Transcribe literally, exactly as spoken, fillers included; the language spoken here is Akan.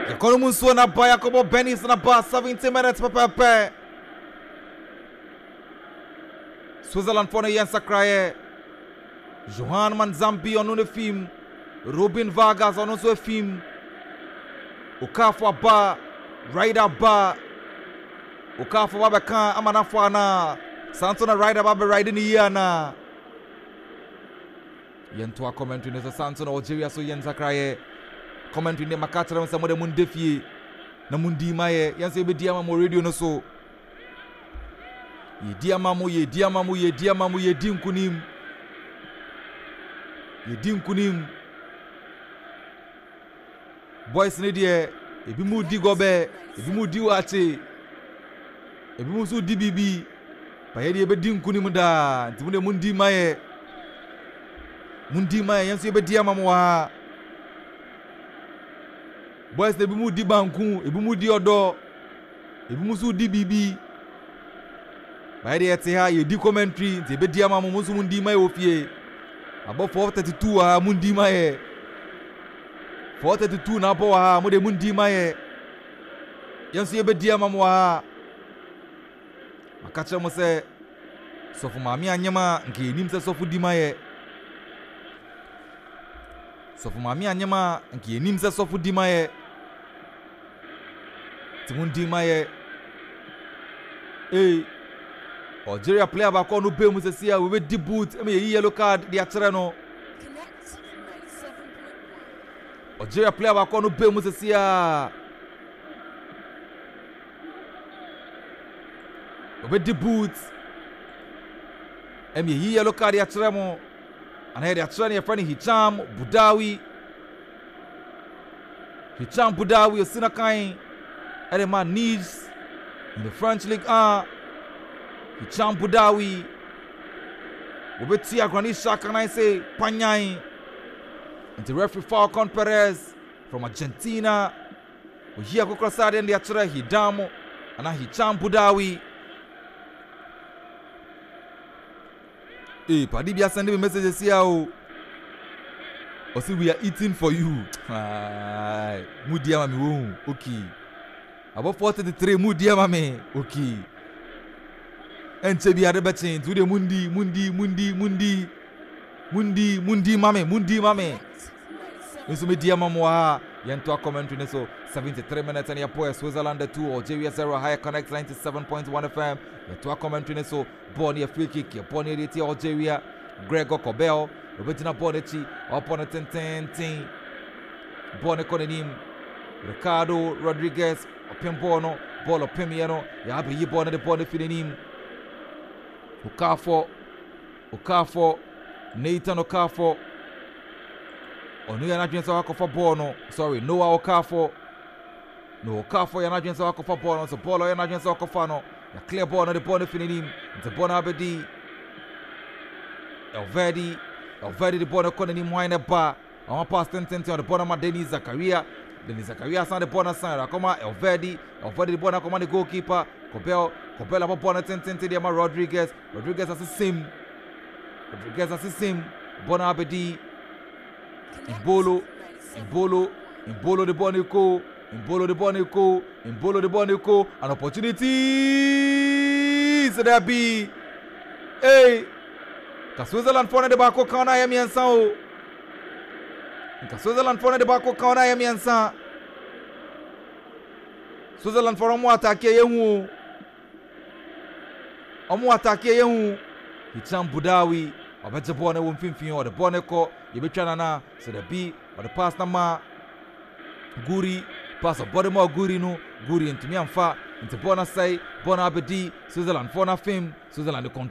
Yɛkɔ no mu nsuo na ba, yɛakɔbɔ Benis na ba, seventy minutes pɛpɛɛpɛ. Switzerland foɔ no yɛ nsakraeɛ. Johan Manzambi ɔno ne fim, Robin Vargas ɔno nso efim, Okafo aba, Ryder ba, Okafo ba bɛka ama n'afɔ anaa saa nso na Ryder ba bɛ ride ne yie anaa. Yɛntoa commentary no so. Saa nso na Algeria so yɛ nsakraeɛ. Commentary ne maka kyerɛ mo sɛ mode mo nda fie na mundi ma yɛ, yɛn nso yɛbɛdi ama mo radio no so. Yɛdi ama mo, yɛdi ama mo, yɛdi ama mo, yɛdi nkunim, yɛdi nkunim. Boys ne deɛ, ebi mu di gɔbɛ, ebi mu di wakye, ebi mu nso di biribi ba, yɛ deɛ yɛbɛdi nkunim daa. Nti mo deɛ mundi ma yɛ, mundi ma yɛ, yɛn nso yɛbɛdi ama mo wɔ ha. Boys na ebi mu di banku, ebi mu di ɔdɔ, ebi mu nso di biribi ba, yɛ deɛ yɛte ha yɛdi commentary, nti yɛbɛdi ama mo. Mo nso mundi ma yɛ wɔ fie. Abɔ four thirty two wɔ ha, mundi ma yɛ. Four thirty two na abɔ wɔ ha, mo de mundi ma yɛ, yɛn nso yɛbɛdi ama mo wɔ ha. Maka kyerɛ mo sɛ sɔfo maame anyem a, nka yɛnim sɛ sɔfo di ma yɛ. Sɔfo maame anyem a, nka yɛnim sɛ sɔfo di ma yɛ, nti mo ndi ma yɛ. Ee, Algeria player baako a ɔno bɛn mu sɛsi a wɔbɛdi boot ɛma yɛyi yellow card de akyerɛ no. Connect ninety-seven point one. Algeria player baako a ɔno bɛn mu sɛsi a wɔbɛdi boot ɛma yɛyi yellow card de akyerɛ mo anaa yɛde akyerɛ no. Yɛfrɛ no Hicham Boudaoui. Hicham Boudaoui osi na kan ɛde ma Nice in the French League one. Hicham Boudaoui wɔbɛtua Granit Xhaka nan sɛ panyan, nti referee Falcon Perez from Argentina oyi akokɔ sradeɛ de akyerɛ Hidam anaa Hicham Boudaoui. Ee, padi bi asend me message si a o, ɔsi, "We are eating for you." Mu di ama mi wo. Okay, abɔ four thirty three, mu di ama mi. Okay, ɛnkyɛ bi ade bɛkye, nti wo deɛ mundi, mundi, mundi, mundi, mundi, mundi ma me, mundi ma me. Connect nso medi ama mo ha. Yɛntoa commentary ne so. seventy-three minutes and yɛpɔ Switzerland two, Algeria zero. Higher Connect ninety-seven point one F M. Yɛtoa commentary ne so. Bɔɔl no yɛ free kick, yɛbɔɔl no yɛde tia Algeria. Gregor Kobel obɛgyina bɔɔl no akyi, ɔbɔ no tententen, bɔɔl no kɔ n'anim. Ricardo Rodriguez ɔpem bɔɔl no, bɔɔl ɔpemyɛ no, yɛabɛyi bɔɔl no de bɔɔl no fi n'anim. Okafor, Okafor, Nathan Okafor, ɔno yɛ n'adwene sɛ wakɔfa bɔɔl no. Sorry, Noah Okafor. Noah Okafor yɛ n'adwene sɛ wakɔfa bɔɔl no so. Bɔɔl ɔyɛ n'adwene sɛ wakɔfa no, yɛclear bɔɔl no de bɔɔl no fi n'anim, nti bɔɔl no abɛdi Elvedi. Elvedi de bɔɔl no kɔ n'anim. Hwan ne ba ɔma pass tententen? Ɔde bɔɔl no ma Denis Zakaria. Denis Zakaria san de bɔɔl no san akɔma Elvedi. Elvedi de bɔɔl no akɔma ne goalkeeper Kobel. Kobel abɔ bɔɔl no tententen de ama Rodriguez. Rodriguez asesem, Rodriguez asesem, bɔɔl no abɛdi Embolo. Embolo, Embolo de bɔɔl no kɔ, Embolo de bɔɔl no kɔ, Embolo de bɔɔl no kɔ. An opportunity sɛ dabi. Ee, ka Switzerland foɔ no de baako kan no ayɛ mmiɛnsa o. Nka Switzerland foɔ no de baako kan no ayɛ mmiɛnsa. Switzerland foɔ no ɔmo attack yɛ hu o, ɔmo attack yɛ hu. Hicham Boudaoui ɔbɛgye bɔɔl no wɔ mfimfini, ɔde bɔɔl no kɔ, yɛbɛtwa nana sɛ dabi. Ɔde pass na ma Guri, pass ɔbɔ de ma Guri no, Guri ntumi amfa, nti bɔɔl no asɛe. Bɔɔl no abɛdi Switzerland foɔ no afem. Switzerland control.